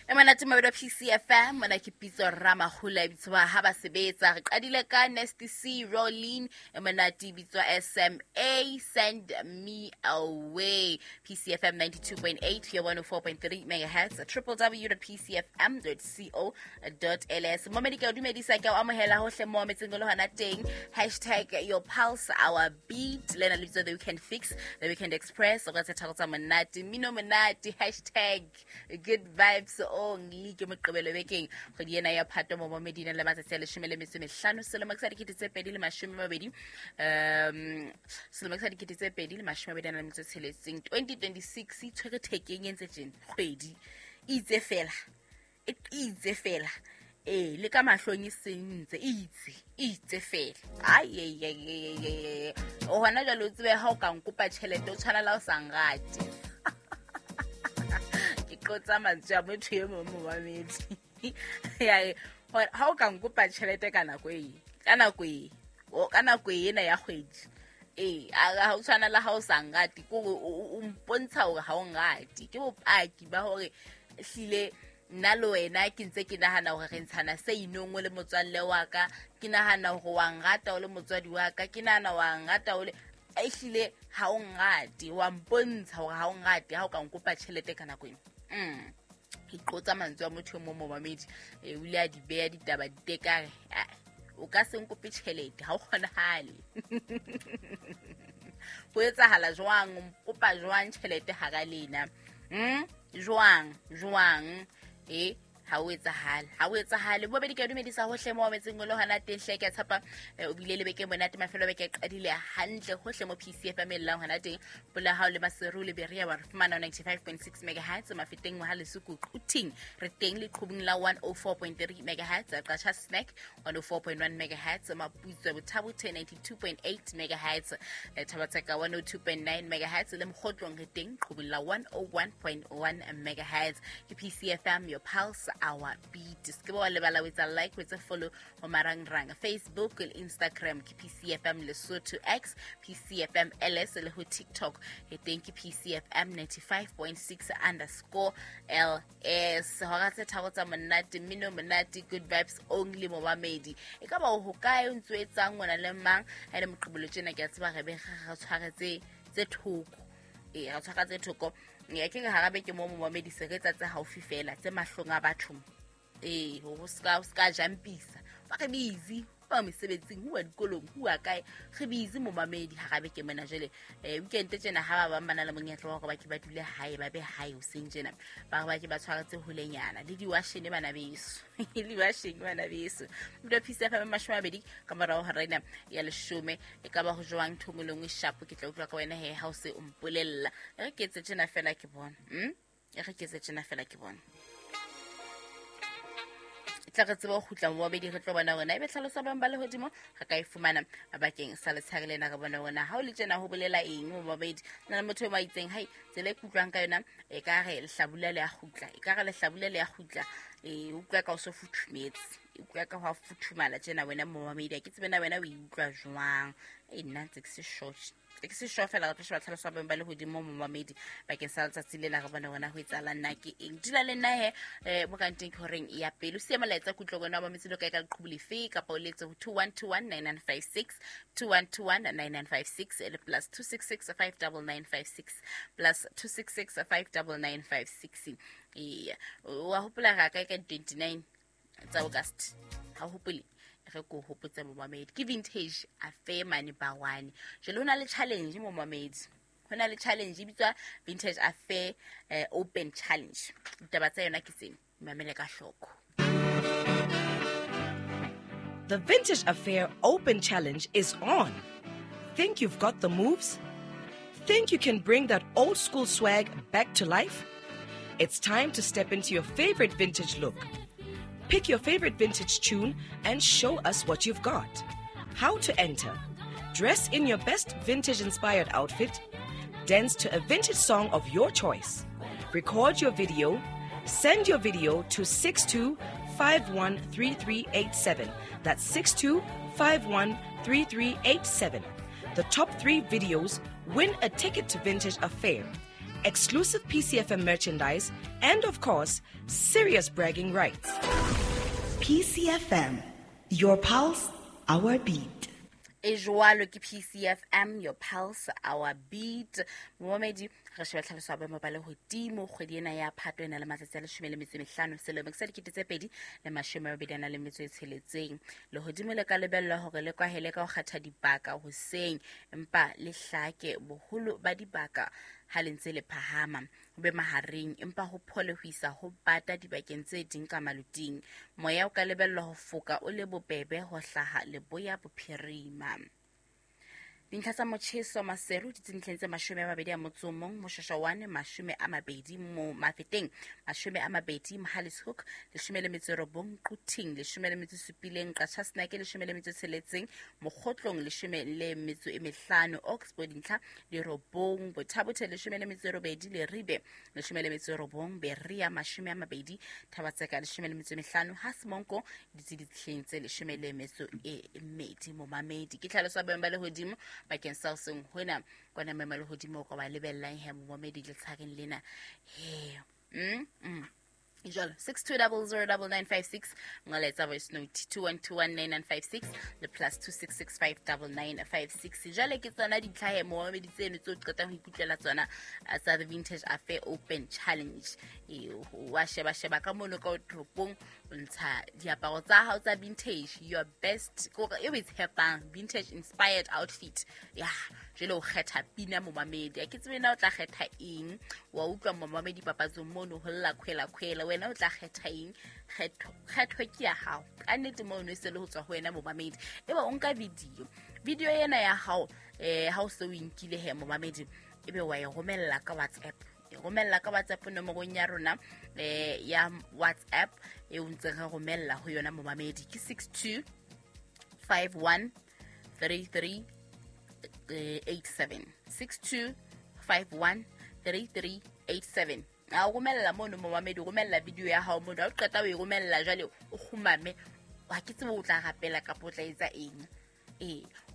E monate mabedi PCFM mona ke pitso Ramahula e bitswa ha ba sebetsa. Re qadile ka Nasty C Rolling e monate e bitswa SMA Send Me Away. PCFM 92.8 here 104.3 megahertz www.pcfm.co.ls. Momedi ke o dumedisa ke o amohela hohle mo metseng le hona teng. Hashtag your pulse our beat lena le bitso the weekend fix, the weekend express o ka tse tharo tsa monate mino monate hashtag good vibes only. Ke Moqebelo bekeng kgwedi ena ya Phato mo Medina le matsatsi a 15 selemo sa 2020, selemo sa 2026, 2026 e tshwere thekeng e ntse tjena kgwedi e itse fela, e itse fela ee le ka mahlong e sentse e itse fela. Ai o hona jwale o tsebe ha o ka nkopa tjhelete o tshwana la o sa nrate. Ke qotsa mantswe a motho e mong momamedi. Ha o ka nkopa tjhelete ka nako e, ka nako e, ka nako ena ya kgwedi ee, ha o tshwana le ha o sa nrate, ke hore o mpontsha hore ha o nrate. Ke bopaki ba hore hlile nna le wena ke ntse ke nahana hore re ntshana se inong o le motswalle wa ka, ke nahana hore wa nrata o le motswadi wa ka, ke nahana wa nrata o le ehlile ha o nrate, wa mpontsha hore ha o nrate ha o ka nkopa tjhelete ka nako ena. Ke qotsa mantswe a motho e mong momamedi, o ile a di beha ditaba ditekare, o ka se nkope tjhelete ha o kgonahale. Ho etsahala jwang, o nkopa jwang tjhelete hara lena? Jwang jwang e ha o etsahale, ha o etsahale. Bobedi ke a dumedisa hohle mo metseng o le hona teng hle. Ke a tshepa o bile le beke monate, mafelo a beke a qadile hantle hohle mo PCFM e llang hona teng. Pola hao le Maseru le Berea wa re fumana 95.6 megahertz, Mafeteng ha Lesuku Quthing re teng leqhubung la 104.3 megahertz, Qacha Snack 104.1 megahertz, Maputswe Bothabothe 92.8 megahertz, Thabatseka 102.9 megahertz le Mokgotlong re teng qhubung la 101.1 megahertz. Ke PCFM, your pulse our beat. Se ke ba wa lebala o etsa like, o etse follow ho marangrang Facebook le Instagram ke PCFM Lesotho, X PCFM LS le ho TikTok e teng ke PCFM 95.6 underscore LS. Hora tse tharo tsa monate mmino monate good vibes only momamedi. E ka ba o hokae o ntso etsang ngwana le mang ha le Moqebelo tjena? Ke a tseba re be re tshware tse thoko, ee re tshwara tse thoko. Ya ke re hara beke mo momamedi se re etsa tse haufi fela tse mahlong a batho, ee ho ska jumpisa ba re busy ba mesebetsing ho wa dikolong ho wa kae, re busy momamedi hara beke mona. Jwale weekend tjena ha ba bang ba na le monyetla wa hore ba ke ba dule hae, ba be hae hoseng tjena, ba re ba ke ba tshwaretse holenyana le diwashene bana beso, le diwashene bana beso. Mdo PCFM 20 ka morao hora ena ya 10 e ka ba ho jwang thongo le nngwe shapo. Ke tla utlwa ka wena he ha o se o mpolella. E re ke etse tjena fela ke bona, e re ke etse tjena fela ke bona. Tla re tsebe ho kgutla mo babedi re tlo bona hore na ebe tlhaloso bang ba lehodimo re ka e fumana bakeng sa letshehare lena. Re bone hore na ha o le tjena ho bolela eng mo babedi. Na le motho e mo itseng hai tsela e ke utlwang ka yona e ka re lehlabula le a kgutla, e ka re lehlabula le a kgutla, e utlwa ka o so futhumetse, e utlwa ka ho a futhumala tjena wena mo babedi. Ha ke tsebe na wena o e utlwa jwang. E nna ntse ke se sure, ke se sure fela. Re tlo sheba tlhaloso ya beng ba lehodimo mo mamedi bakeng sa letsatsi lena, re bone hore na ho etsahalang na ke eng. Dula le nna he mo kanteng ke horeng ya pele. O siye molaetsa kutlo wena wa mametse le kae ka leqhubu lefe kapa o letse ho 2121 9956, 2121 9956 le +266 59956, +266 59956. Ee, wa hopola ra kae ka di-29 tsa August? Ha o hopole, re ko hopotse momamedi. Ke Vintage Affair mane Bawane. Jwale ho na le challenge momamedi, ho na le challenge e bitswa Vintage Affair Open Challenge. Ditaba tsa yona ke tsena, mamele ka hloko. The Vintage Affair Open Challenge is on. Think you've got the moves? Think you can bring that old school swag back to life? It's time to step into your favorite vintage look. Pick your favorite vintage tune and show us what you've got. How to enter? Dress in your best vintage-inspired outfit. Dance to a vintage song of your choice. Record your video. Send your video to 62513387. That's 62513387. The top 3 videos win a ticket to Vintage Affair. exclusive PCFM merchandise, and of course, serious bragging rights. PCFM, your pulse, our beat. E jwalo ke PCFM, your pulse, our beat. Momamedi, re sheba tlhaloso ya boemo ba lehodimo kgwedi ena ya Phato e na le matsatsi a 15 selemo sa 2026. Lehodimo le ka lebellwa hore le kwahele ka ho kgetha dibaka hoseng, empa le hlake boholo ba dibaka ha le ntse le phahama, ho be mahareng empa ho phole ho isa ho bata dibakeng tse ding ka maluting. Moya o ka lebellwa ho foka o le bobebe ho hlaha leboya bophirima. Dintlha tsa motjheso Maseru di tsentleng tse 21, Moshashawane 20, mo Mafeteng 20, Mohale's-Hoek 19, Quthing 17, Qachasenake 16, Mokgotlong 15, Oxford dintlha di 9, Bothabothe 18, Leribe 19, Berea 20, Thabatseka 15, Hasmonko di tse 12. Momamedi ke tlhaloso ya boemo ba lehodimo bakeng sa hoseng hona kwana boemo ba lehodimo ka ba lebellang he momamedi letshareng lena he. Jalo 62009956 ngoletsa voice note 21219956 le plus 26659956. Jwale ke tsona ditlhahe momamedi tseno tse o qetang ho ikutlwela tsona tsa the Vintage Affair Open Challenge. Wa sheba sheba ka mono ka toropong, o ntsha diaparo tsa hao tsa vintage, your best kore e o e tshepang, vintage inspired outfit. Ya jwale o kgetha pina momamedi, a ke tsebe na o tla kgetha eng. Wa utlwa momamedi papatsong mono ho lla khwela khwela, wena o tla kgetha eng? Kgetho ke ya hao ka nnete mono e se le ho tswa ho wena momamedi. Ebe o nka video ena ya hao, ha o se o inkile he momamedi, ebe wa e romella ka WhatsApp. E romella ka WhatsApp nomorong ya rona ya WhatsApp e o ntseng re romella ho yona momamedi ke 62 51 33 87, 62 51 33 87. A o romella mono momamedi, o romella video ya hao mono. Ha o qeta o e romella jwale o kgumame, ha ke tsebe o tla rapela kapa o tla etsa eng.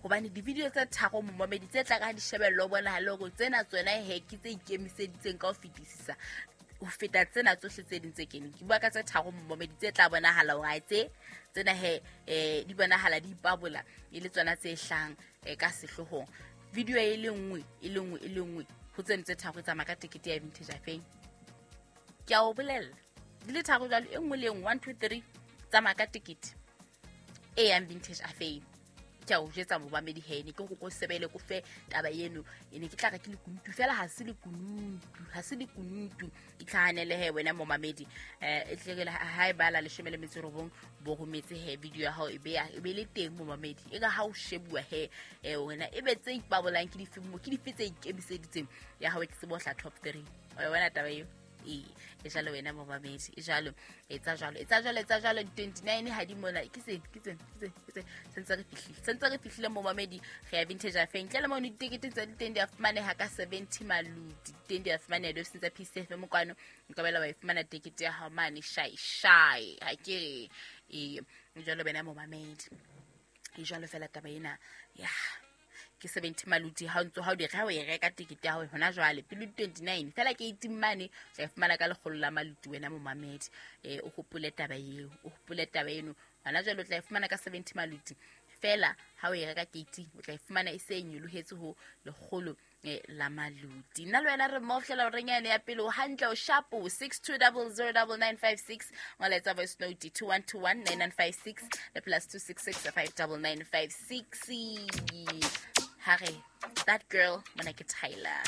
Hobane di-video tse tharo momamedi tse tla ka di shebello bona le hore tsena tsona he ke tse ikemiseditseng ka ho fetisisa ho feta tsena tsohle tse ding tse keneng. Ke bua ka tse tharo momamedi tse tla bonahala hore tse tsena he di bonahala di ipabola e le tsona tse hlang ka sehloohong. Video e le nngwe e le nngwe e le nngwe ho tseno tse tharo tsamaya ka tekete ya Vintage Affair. Ke a o bolella di le tharo jwalo, e nngwe le nngwe 1 2 3 tsamaya ka tekete e yang Vintage Affair. Ke a o jetsa momamedi he ne ke go go sebele ko fe taba eno e ne ke tla re ke lekunutu fela, ha se lekunutu, ha se lekunutu. Itlhahanele he wena momamedi, e tle ha e bala 19 bo rometse he video ya hao e be le teng momamedi. E ka ha o shebuwa he wena e be tse ipabolang ke dife mo ke dife tse ikemiseditseng ya hao e ke tsebo hla top 3. O wena taba eo e jalo wena momamedi, e jalo, etsa jalo, etsa jalo, etsa jalo. 29 ha di mona ke se sentse re fihlile momamedi re ya Vintage Affair. Ntle le mono ditekete tsa diteng di a fumaneha ka 70 maluti, teng di a fumaneha diofising tsa PCFM kwano. Nka bela wa e fumana tekete ya hao mane shai shai, ha ke re e jalo wena momamedi, e jalo fela taba ena ya ke 70 maluti. Ha o ntso ha o di ha o e reka tekete ya hao hona jwale pele 29 fela ke 18 mane tla fumana ka lekgolo la maluti wena momamedi. O hopole taba eo, o hopole taba eno hona jwale o tla fumana ka 70 maluti fela. Ha o e reka ke 18 o tla fumana e se nyolohetse ho lekgolo la maluti. Nna le wena re mmoho fihlela horeng yane ya pele. O hantle, o shapo 62009956 ngoletsa voice note 21219956 le plus 26659956. Hare, that girl, mona ke Tyler.